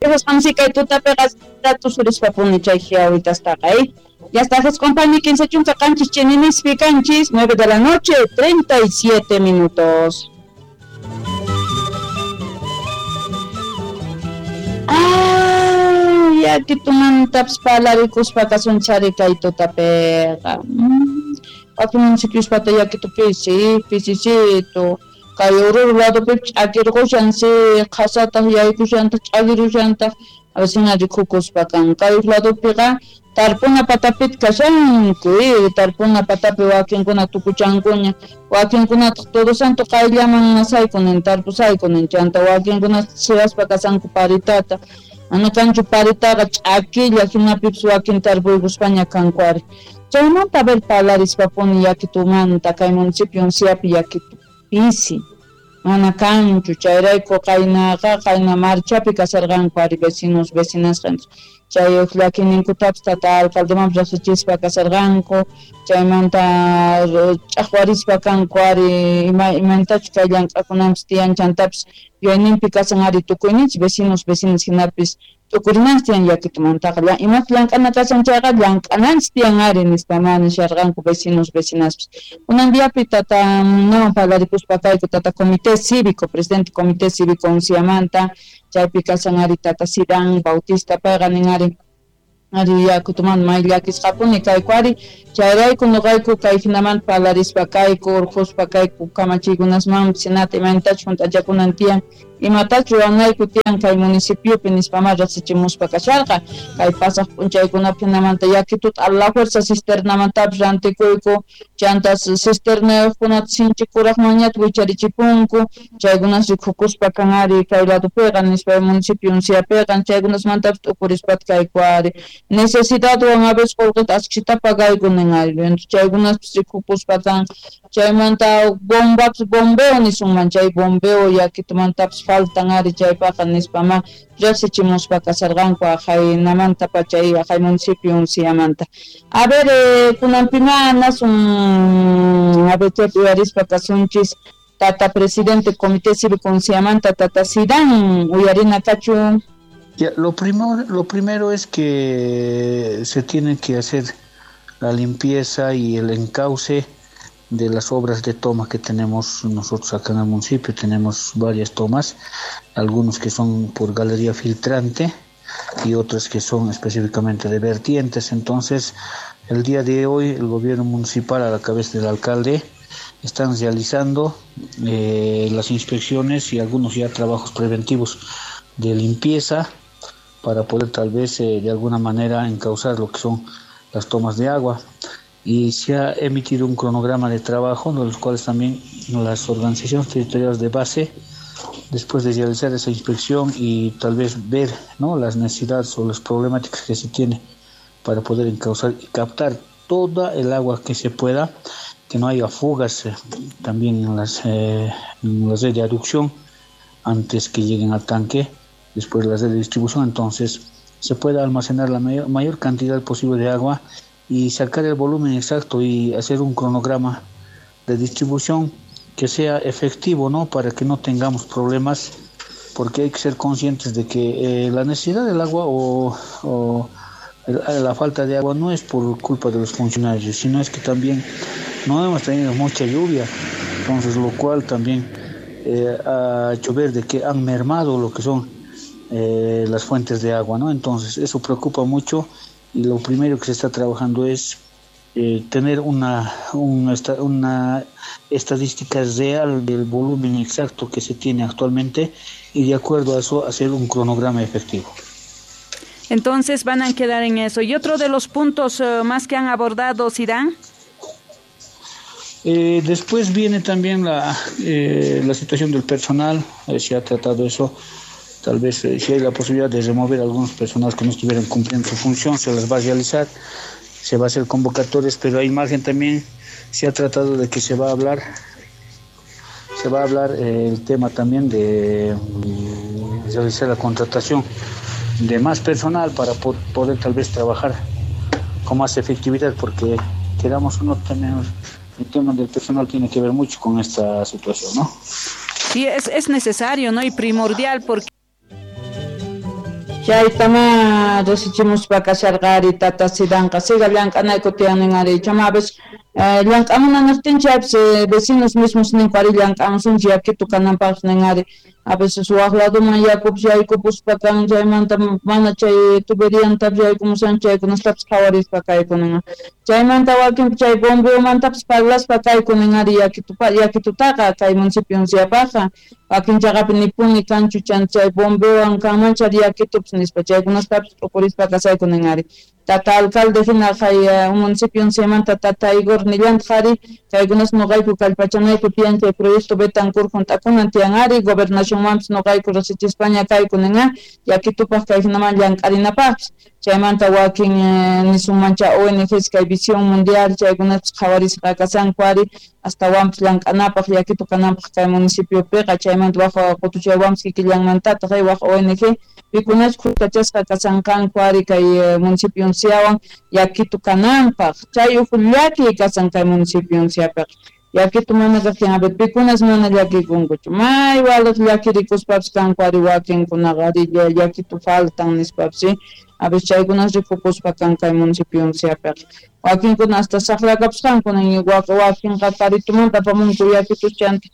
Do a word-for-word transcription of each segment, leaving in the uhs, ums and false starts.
Kasqansi kay tutapiqa tusurispa puni chay jiawitastaqa, eh. Ya está, compañía quince chunka qanchis chininispi kanchis, nueve de la noche, treinta y siete minutos. Ay, yakitumantapis parlarikuspa kasunchari kay tutapiqa. Wakin municipiuspata yakitu pisi, pisisito. Kay Oruro ladopi ch'akirqushan, si qhasataq yaykushantaq ch'akirushantaq, a veces rikukuspa kan. Kay ladopiqa tarpuna patapit kashanku, eh, tarpuna patapi wakinkuna tukuchankuña, wakinkunataq Todo Santo qayllaman nasaykunin, tarpusaykunin, chanta wakinkuna siraspa kasanku paritata. Mana kanchu paritaqa ch'akilla hinapipis wakin tarpuykuspaña kanku ari. Chaymanta a ver parlarispapuni yakitumanta kay municipio Unciapi yakitu pisi. Mana kanchu chayrayku qaynaqa qayna marchapi kasarqanku ari vecinos vecinasqa. Chay llakininkutapis tata alcaldemanpis riqsichispa kasarqanku, chaymanta ch'aqwarispa kanku ari ima imantachu kay llank'akunanpis tiyan chantapis yuyayninpi kasan ari tukuyninchis vecinos vecinas hinapis tukurinanchis tiyan yakitumantaqa imata llank'ana kasan chayqa llank'ananchis tiyan ari nispa mana nisharqanku vecinos vecinaspis. Kunan diapi tata nawan parlarikuspa kayku tata comité cívico, presidente comité cívico Unciamanta, chaypi kasan ari tata Sidán Bautista payqa nin ari ari yakutumanta may llakisqapuni kayku ari chayrayku nuqayku kay hinamanta parlarispa kayku urquspa kayku kamachiykunasmanpis hinata imaynatachu hunt'achakunan tiyan imatachu ruwanayku tiyan kay municipiopi nispama riqsichimuspa kasharqa kay pasaq p'unchaykunapi hinamanta yakituta a la fuerza cisternamantapis rantikuyku chanta cisternayuqkunata sinchi kuraqmanñata wicharichipunku chaykunas rikukuspa kan ari kay ladopiqa nispa municipio Unciapiqa chaykunasmantapis t'ukurispata kayku ari necesidadwan a veces qullqita ashkhita pagayku nin ari chaykunaspis rikukuspa kan chaymanta bombapis bombeo nisunman chay bombeo yakitumantapis faltan ari chaypaqa nispama riqsichimuspa kasarqanku aqhaynamanta pacha aqhay municipio Unciamanta. A ver, eh, kunanpima nasun a ver chaypi uyarispa kasunchis tata presidente comité cívico Unciamanta tata Sidán uyarina kachun. Ya, lo primero, lo primero es que se tiene que hacer la limpieza y el encauce de las obras de toma que tenemos nosotros acá en el municipio. Tenemos varias tomas, algunos que son por galería filtrante y otras que son específicamente de vertientes. Entonces, el día de hoy el gobierno municipal a la cabeza del alcalde están realizando eh, las inspecciones y algunos ya trabajos preventivos de limpieza para poder tal vez eh, de alguna manera encauzar lo que son las tomas de agua. Y se ha emitido un cronograma de trabajo, de los cuales también las organizaciones territoriales de base, después de realizar esa inspección y tal vez ver, ¿no?, las necesidades o las problemáticas que se tiene para poder encauzar y captar toda el agua que se pueda, que no haya fugas eh, también en las, eh, en la red de aducción antes que lleguen al tanque, después de la red de distribución, entonces se pueda almacenar la mayor, mayor cantidad posible de agua y sacar el volumen exacto y hacer un cronograma de distribución que sea efectivo, ¿no?, para que no tengamos problemas, porque hay que ser conscientes de que eh, la necesidad del agua o, o la falta de agua no es por culpa de los funcionarios, sino es que también no hemos tenido mucha lluvia, entonces lo cual también eh, ha hecho ver de que han mermado lo que son eh, las fuentes de agua, ¿no? Entonces eso preocupa mucho. Y lo primero que se está trabajando es eh, tener una, una, una estadística real del volumen exacto que se tiene actualmente y de acuerdo a eso hacer un cronograma efectivo. Entonces van a quedar en eso. ¿Y otro de los puntos eh, más que han abordado, Sidán? Eh, después viene también la, eh, la situación del personal, eh, se ha tratado eso. Tal vez eh, si hay la posibilidad de remover algunos personas que no estuvieran cumpliendo su función, se las va a realizar, se va a hacer convocatorias, pero hay margen también, se ha tratado de que se va a hablar, se va a hablar eh, el tema también de mm, realizar la contratación de más personal para po- poder tal vez trabajar con más efectividad, porque queramos o no, tenemos, el tema del personal tiene que ver mucho con esta situación, ¿no? Sí, es, es necesario, ¿no? Y primordial, porque Chaytama riqsichimuspa kasharqa ari tata Sidanqa siga llank'anayku tiyan ari chamapis llank'amuna niqtin chaypis vecinos mismos ninku ari llank'amusunchik yakitu kananpaq nin ari a veces waq laduman yakupis yaykupuspa kan chaymanta mana chay tuberiantapis yaykumusan chaykunastapis qhawarispa kaykunin chaymanta wakin chay bombeomantapis parlaspa kaykunin ari yakitupa yakitutaqa kay municipio unciapaqqa wakin chaqapi nipuni kanchu chan chay bombeowan kanman chay yakitupis nispa chaykunastapis t'ukurispa kasaykunin ari tata alcalde hina kay municipio unciamanta tata Igor nillantaq ari kaykunas nuqayku kallpachanayku tiyan chay proyecto Betancourt hunt'akunan tiyan ari gobernacionmanpis nuqayku riqsichispaña kaykunin yakitupaq kay hinaman llank'arinapaqpis chaymanta wakin nisunmancha O N Gs kay Visión Mundial chaykunapis qhawarisqa kasanku ari astawanpis llank'anapaq yakitu kananpaq kay municipiopiqa chaymanta waq qutuchaywanpis kikillanmantataq waq O N G pikunachus khuskachasqa kasanqanku ari kay municipio unciawan yakitu kananpaq chay uj llakiy kasan kay municipio unciapiqa yakitu mana kaqtin a ver pikunas mana llakikunkuchu may waliq llakirikuspapis kanku ari wakinkunaqa ari llakitu faltan nispapis a ver chaykunas rikukuspa kan kay municipio unciapiqa wakinkuna hasta saqlakapusqanku wakinqa karitumanta apamunku yakitus chanta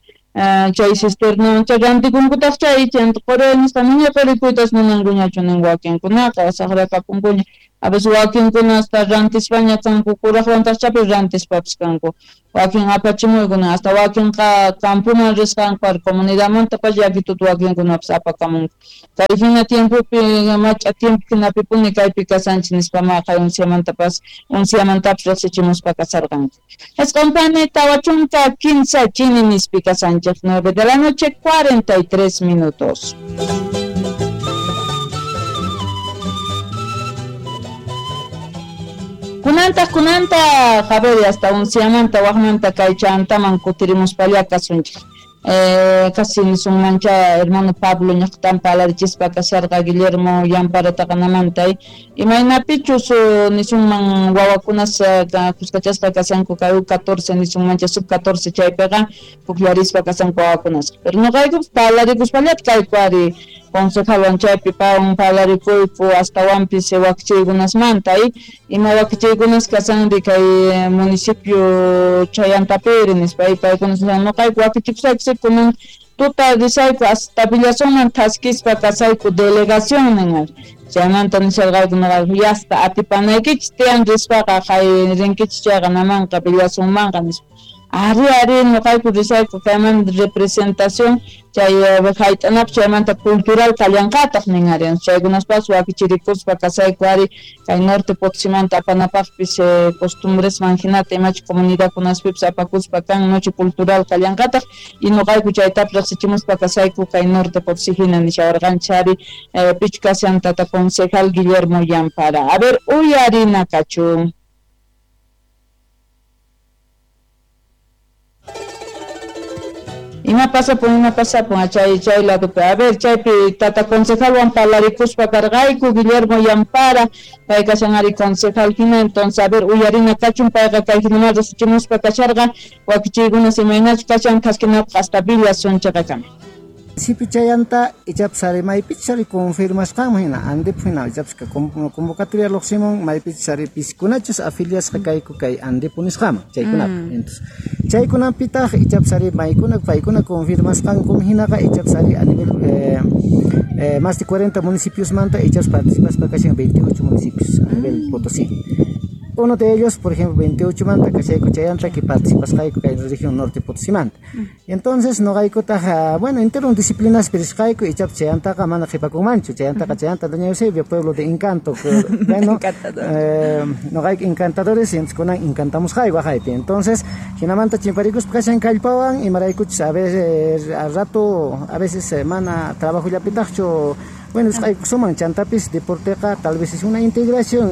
chay cisterna chay rantikunkutaq chay chanta quri nisqa niña qurikuytas munankuñachu nin wakinkunaqa saqlakapunkuña a veces wakinkuna hasta rantispaña kanku kuraqwantaq chaypi rantispapis kanku wakin apachimuykuna hasta wakinqa campoman risqanku ari comunidadmantapas yakituta wakinkunapis apakamunku kay hina tiempopi mach'a tiempo hinapipuni kaypi kasanchik nispama kay unciamantapas unciamantapis riqsichimuspa kasarqanku isqunpani tawa chunka kinsa chini nispi kasanchik nueve de la noche cuarenta y tres minutos. Kunanta kunanta Javier hasta unciamanta waqmanta kay chantaman kutirimuspalla kasunchik eh casi nisunmancha hermano Pablo ñaqtan palarichispa kasharqa Guillermo Yampara taqanamanta imaynapichus nisunman wawakunas kuskachasqa kasanku kay U catorce nisunmancha sub catorce chaypiqa pukllarispa kasanku wawakunas pero nuqayku palarikuspallata kayku ari concejalwan chaypi pawan parlarikuyku astawanpis wakichiykunasmanta ima wakichiykunas kasanri kay municipio chayantapiri nispa paykunas nuqayku wakichikusayku kunan tuta risayku hasta Villazonman thaskispa kasayku delegación nin chaymanta nisharqayku nuqayku yasta atipanaykichis tiyan rispaqa kay rinkichis chayqa namanqa Villazonmanqa nispa ari ari nuqayku risayku kayman representación chay hayt'anapis chaymanta cultural kallanqataq nin ari chaykunaspas wakichirikuspa kasayku ari kay norte Potosimanta apanapaqpis costumbresman hinata imachi comunidadkunaspipis apakuspa kan noche cultural kallanqataq y nuqayku chaytapis riqsichimuspa kasayku kay norte Potosí hina nishawarqanchik ari pichu kashan tata concejal Guillermo Yampara. A ver uyarina kachun. Ima pasapun, ima pasapun, chay chay ladopi. A ver, chaypi tata concejalwan parlarikuspa karqayku Guillermo Yampara, pay kashan ari concejal hina, entonces a ver, uyarina kachun payqa kay hinaman riqsichimuspa kasharqa, wakichiykunas imaynachu kashan thaskinapaq hasta Villazón chaqakama. Municipio chayanta ichapas ari maypichus ari confirmasqanman hina Andep hina ichapas convocatoria lluqsimun maypichus ari piskunachus afiliasqa kayku kay Andepu nisqaman chaykunapi. Entonces chaykunapitaq ichapas ari maykuna paykuna confirmasqankum hinaqa ichapas ari a nivel eh, eh, más de cuarenta municipios manta ichapas participaspa kashan veintiocho municipios a nivel Potosí. Uno de ellos, por ejemplo, veintiocho manta, kashayku chayanta que participasqayku kay región norte Potosimanta. Entonces, noqaykutaq, bueno, entero disciplinas pirisqayku ichapas chayantaqa mana qhipakunmanchu, chayantaqa chayanta doña Eusebio, pueblo de encanto. Bueno, eh, noqayku encantadores, entonces kunan encantamusqayku waqaypi. Entonces, hinamanta chimparikuspa kashan kallpawan, imaraykuchus a veces al rato, a veces mana trabajollapitaqchu. Bueno, suman chantapis deporteqa tal vez es una integración,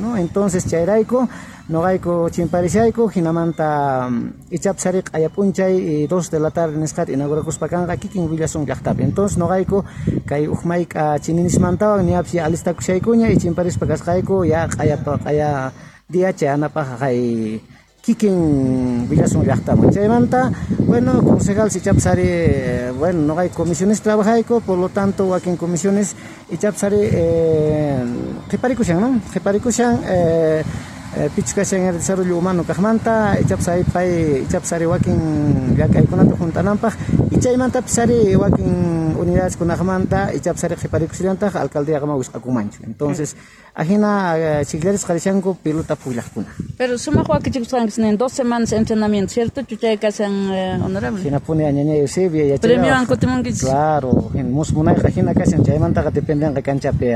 ¿no? Entonces chayrayku noqayku chimparishayku hinamanta ichapas ari q'ayapunchay dos de la tarde nisqata inaugurakuspa kanqa kikin Villazón llaqtapi. Entonces noqayku kay uj mayk'a chininismantawan ñapis ya alistakushaykuña y chimparispa kasqayku ya q'aya q'aya día chayanapaq kay Kikin Villazón llaqtaman. Chaymanta, bueno, concejal ichapas ari, bueno, no hay comisiones trabajayku, por lo tanto, wakin comisiones ichapas ari eh, qhiparikushan, ¿no? Qhiparikushan, eh, eh, pichukashan el desarrollo humano kaqmanta, ichapas ari pay, ichapas ari wakin llank'aykunata juntananpaq, y chaymantapis ari wakin unidades kunaqmanta, ichapas ari qhiparikusillantaq alcaldía qama wisq'akunmanchu. Entonces, ajina chiklarisqa rishanku pelota pukllaqkuna. Pero sumaq wakichikusqanchis en dos semanas de entrenamiento, ¿cierto? Chuchay kasan eh, honorable. Hinapuni añañay Eusebio yachayqa. Premiowan kutimunkichis. Claro, musmunayqa hina kashan chaymantaqa dependenqa kanchapi.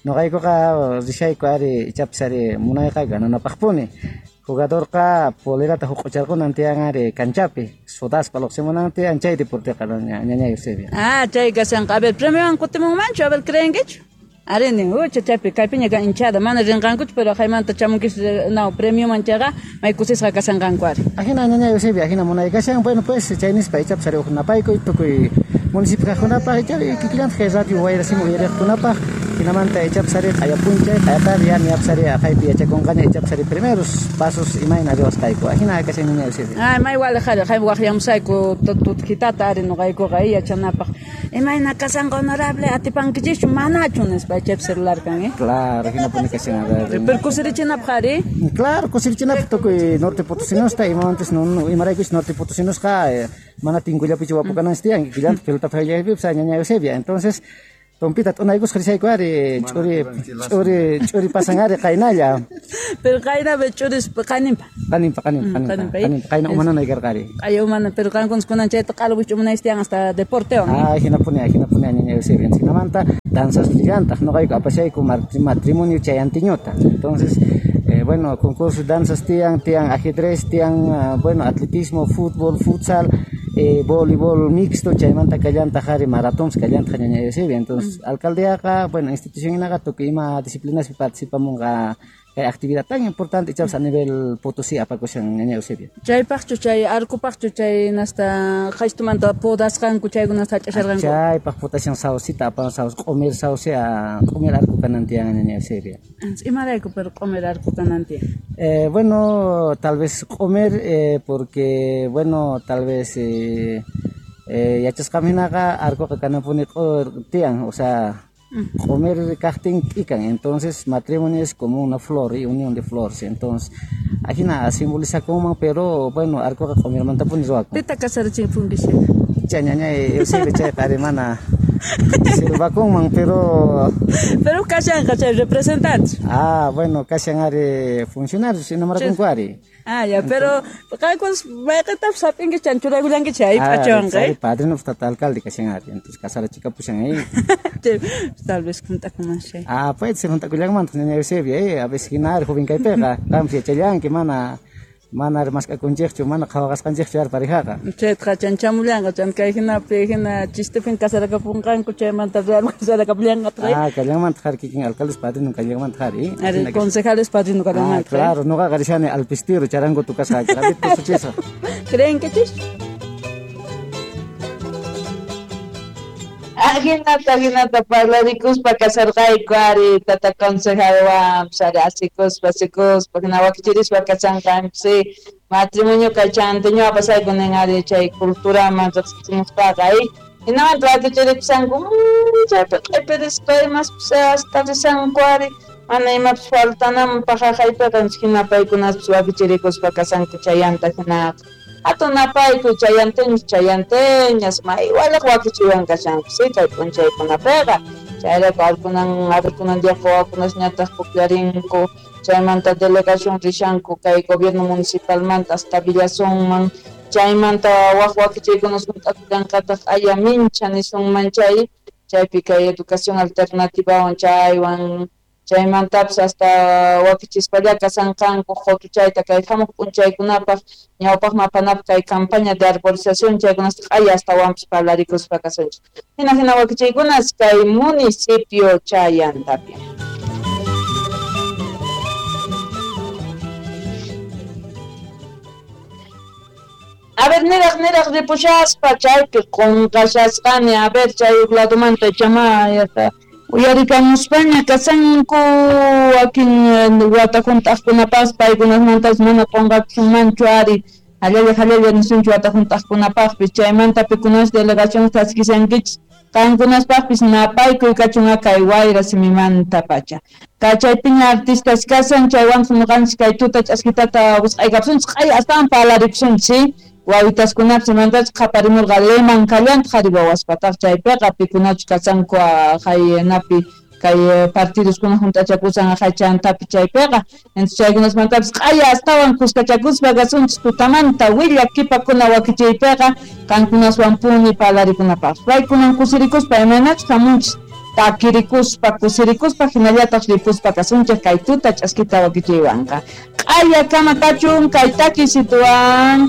Noqaykuqa rishayku ari ichapis ari munayqa gananapaqpuni. Jugadorqa polerata huq'ucharqunan tiyan ari kanchapi, sudaspa luqsimunan tiyan chay deporteqa ñañay Eusebio. Ah, chay kashanqa. A ver, premiowan kutimunmanchu, a ver, creenkichu? Areni, ucha chaypi kaypiña kan hinchada, mana rinqankuchu, pero haymanta chamunkis no, premioman chayqa may kusisqa kashanqanku ari. Ajina ñañay Eusebio, ajina munay kashan, bueno pues chay nispa ichapas ari uqnapayku tukuy municipio kaqkunapaq ichapi kikillantaq kay radio Wayrasimi uyariqkunapaq, hinamanta ichapas ari q'ayapunchay, q'ayatar ya niapas ari aqaypi yachakunqaña ichapas ari primeros pasos imayna riwasqayku, ajina kashan ñañay Eusebio. Ay, may waliq ari, hay waqyamusayku tutjitata ari noqaykuqa yachanapaq. Imayna kashanqa honorable atipankichischu manachu nispa chaypi celular kan, eh? Claro, hinapuni kashan. Pero kusirichinapaq ari? Claro, kusirichinapaq tukuy norte potosinosqa imamantas no imaraykuchus norte potosinosqa mana tinkullapichu wapukananchis tiyan kikillantaq pelota payllapipas ñañay Eusebia. Entonces, tompita t'unaykusqa rishayku ari ch'uri ch'uri ch'uri pasan ari qaynalla. Pero qayna ch'uris qaninpa. Qaninpa qaninpa qaninpa qaninpa qayna umananay karqa ari. Qaya umana pero qankunas kunan chayta q'alwichu umanaychis tiyan hasta deportewan. Ah, hinapuni hinapuni ñañay Eusebia. Hinamanta danzas rillantaq noqayku apashayku matrimonio chayantiñuta. Entonces, eh, bueno, concurso danzas tiyan, tiyan ajedrez, tiyan, uh, bueno, atletismo, fútbol, futsal, eh, voleibol mixto, chaymanta kallantaq ari maratons kallantaq ñañay Eusebia. Entonces, mm. alcaldeaqa, bueno, institución inaqa tukuy ima disciplinaspi participamunqa kay actividad tan importante ichapas a nivel Potosí apakushan ñañay Eusebio. Chaypaqchu chay arcupaqchu chay nasta qaystumanta podasqanku chaykunasta hach'asharqanku. Chaypaq potashan saucita apan saus q'umir sauce a q'umir arco kanan tiyan ñañay Eusebio. Imarayku pero q'umir arco kanan tiyan? Eh, bueno, tal vez q'umir eh, porque bueno, tal vez eh, eh, yachasqaminaqa arcoqa kananpuni tiyan, o sea, comer kaqtin k'ikan, entonces matrimonio es como una flor y unión de flores, entonces ajina simbolizakunman, pero bueno, arcoqa q'umirmantapuni ruwakun. Pita kasarachinpunkichis? Chay ñañay Eusebio chayqa ari mana silbakunman, pero pero kashanqa chay representantes. Ah, bueno, kashan ari funcionarios enamorarkunku ari. Ah, ya, pero qankunas mayqintapis hap'inkichis chan churaykullankichis ahí p'achawanqa, eh. Padrino tata alcalde kashan ari, entonces kasarachikapushan ahí. Tal vez juntakunman chay. Ah, puede ser juntakullanmantaq ñañay Eusebio, eh, a veces hina ari joven kaypiqa, qanpis yachallanki mana mana mask'akunchikchu, mana qhawaqasqanchikchu ari parejaqa. Chaytaqa chanchamullanqa, chan kay hinapi hina chistepin kasarakapunqanku chaymanta real kasarakapunqanqa. Ah, kallanmantaq ari kikin alcaldes padrino kallanmantaq ari. Ari concejales padrino kallanmantaq. Ah, claro, noqaqa rishani alpistiro charango tukasqa, rabito suchisaq. Creenkichis? Ajinata, ajinata parlarikuspa kasarqayku ari tata concejalwan ari asikuspa asikuspa hina wakichirispa kashanqanchis matrimonio kay chantiño apasayku nin ari chay culturaman riqsichimuspaqa ay hinamanta wakichiripisanku chaypi q'ipirispa imaspis hasta risanku ari mana imapis faltananpaq haqaypiqa hina paykunaspis wakichirikuspa kasanku chayanta hinaqa. Hatun napayku chayanteños chayanteñas may waliq wakichiwan kashanku sí kay p'unchaykunapiqa chayrayku arkunan arkunan diaqa wawakunasñataq puklarinku chaymanta delegación rishanku kay gobierno municipalmanta hasta Villazónman chaymanta waq wakichiykunas hunt'akullanqataq aya mincha nisunman chay chaypi kay educación alternativawan chaywan chaymantapis hasta wakichispalla kasanqanku qutuchayta kay hamuq p'unchaykunapaq ñawpaqman apanapaq kay campaña de arborización chaykunasta q'aya astawanpis parlarikuspa kasunchik hina hina wakichiykunas kay municipio Chayantapi. A ver, niraq niraq ripushaspa chaypi qunqashasqani, a ver chay uq ladumanta chamay hasta Uyarikamuspaña kasanku wakin wata hunt'aqkunapas paykunasmantas mana qunqakusunmanchu ari hallalla hallalla nisunchu wata hunt'aqkunapaqpis chaymanta pikunas delegación chaskishankichis qankunaspaqpis napaykuy kachun kay wayra simimanta pacha kachaypiña artistas kasan chaywanqa ñuqanchis kay tuta ch'askitata wisq'aykapusunchis q'aya astawan parlarikusunchis wawitaskunapis imantachus qhaparimurqa leman kallantaq qhari wawaspataq chaypiqa pikunachus kasanku haynapi kay partidoskuna hunt'achakusan hachantapi chaypiqa entonces chaykunasmantapis q'aya astawan kuskachakuspa kasunchis tutamanta willakipakuna wakichiypiqa qankunaswanpuni parlarikunapaq paykunan kusirikuspa imaynachus hamunchis takirikuspa kusirikuspa hinallataq ripuspa kasunchik kay tuta ch'askita wakichiywanqa q'aya kama kachun kay takisituwan.